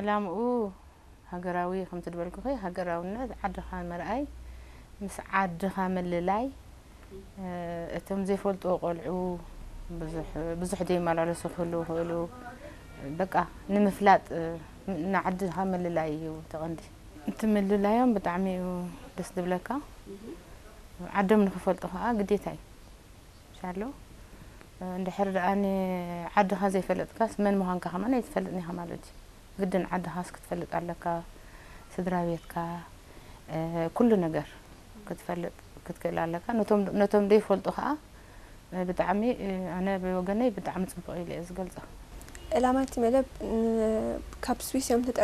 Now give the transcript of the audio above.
ዕላምኡ ሃገራዊ ከምቲ ዝበልኩኺ፣ ሃገራውነት፣ ዓድኻ ምርኣይ፣ ምስ ዓድኻ ምልላይ፣ እ፣ እቶም ዘይፈልጥዎ ቆልዑ ብዙሕ፣ ብዙሕ ዘይመላለሱ ክህልዉ ይኽእሉ። በቃ ንምፍላጥ፣ እ፣ ንዓድኻ ምልላይ እዩ እቲ ቀንዲ። እቲ ምልላዮም ብጣዕሚ እዩ ደስ ዝብለካ። ዓዶም ንኽፈልጡ ከዓ ግዴታ እዩ። ሻሎ፣ እንድሕር ደኣ ንዓድኻ ዘይፈለጥካስ መን ምዃንካ ከማን ኣይትፈልጥን ኢኻ ማለት እዩ። ግድን ዓድኻስ ክትፈልጥ ኣለካ፣ ስድራ ቤትካ፣ እ፣ ኩሉ ነገር ክትፈልጥ ክትክእል ኣለካ። ነቶም፣ ነቶም ዘይፈልጡ ከዓ፣ እ፣ ብጣዕሚ፣ እ፣ ኣነ ብወገነይ ብጣዕሚ ጽቡቕ ኢለ እየ ዝገልጾ። ዕላማ እቲ መደብ ን-፣ ካብ ስዊስ እዮም ተጠር